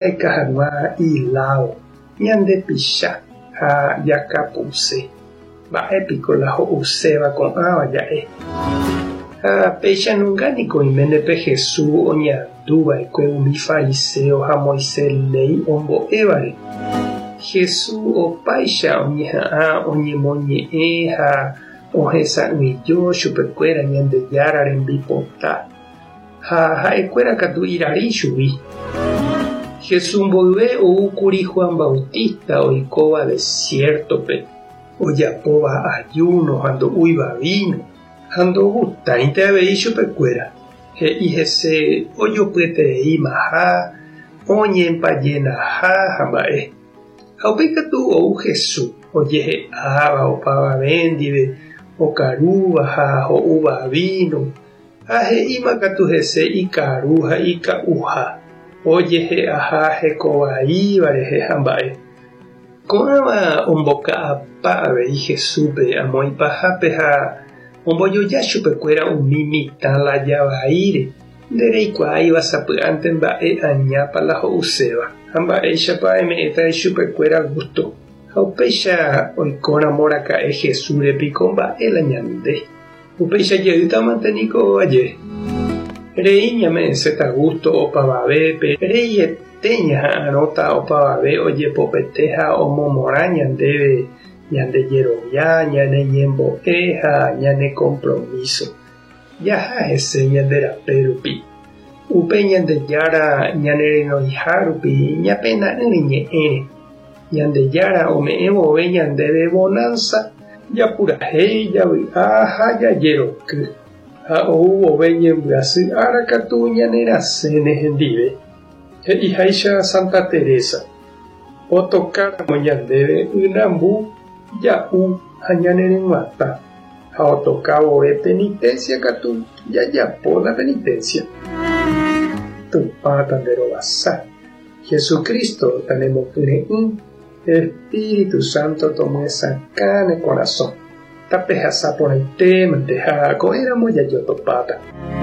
Jaheka hag̃ua iládo, ñandepicha ha jakapuse. Mba'e piko la ho'uséva ko'ãva ja'e? Ha péicha nunga niko oiméne pe Jesús oñandu va'ekue umi fariséo ha Moisés léi ombo'évare. Jesús opáicha oñeha'ã oñemoñe'ẽ ha ohesa'ỹijo chupekuéra Ñandejára rembipota. Ha ha'ekuéra katu irari chugui. Jesús mboyve ou kuri Juan Bautista oikóva desiértope, ojapóva ajúno ha ndo'úiva víno, ha ndogustáinte avei chupekuéra. He'i hese ojopyetereímaha, oñempajenaha ha mba'e. Ha upéi katu ou Jesús, ojehe'áva opavave ndive, okarúva ha ho'úva víno, Ha he'íma katu hese ikaru ha ika'uha, ojehe'aha heko vaíva rehe ha mba'e. Ko'ãva omboka'apa avei Jesúspe amo ipahápe ha ombojoja chupekuéra umi mitã laya vaíre, ndereikuaáiva sapy'ánte mba'e añápa la ho'uséva ha mba'éichapa eme'ẽta ichupekuéra gústo. Ha upéicha oikóramo raka'e Jesúsre piko mba'e la ñande. Upéicha jeýtamante niko aje. Rei ñame'ẽséta gústo opavavépe, reiete ñaha'arõta opavave ojepopete ha omomorã ñandéve ñande jerovia, ñane ñembo'e ha ñane kompromíso. Jaha hese ñande rape rupi. Upe Ñandejára ñanerenoiha rupi ñapena'ỹre ñe'ẽre. Ñandejára ome'ẽ vove ñandéve vonánsa, japurahéi, javy'a ha jajeroky, ha ou vove ñembyasy ára katu ñanerasẽne hendive. He'iháicha Santa Teresa, Otokáramo ñandéve ynambu, ja'u ha ñaneryg̃uatã, ha otoka vove penitencia katu jajapo la penitencia. Tupã tanderovasa. Jesucristo tanemokyre'ỹ, Espíritu Santo tomyesakã ne korasõ. Tapehasa porãitémante ha ko'ẽramo jajotopáta.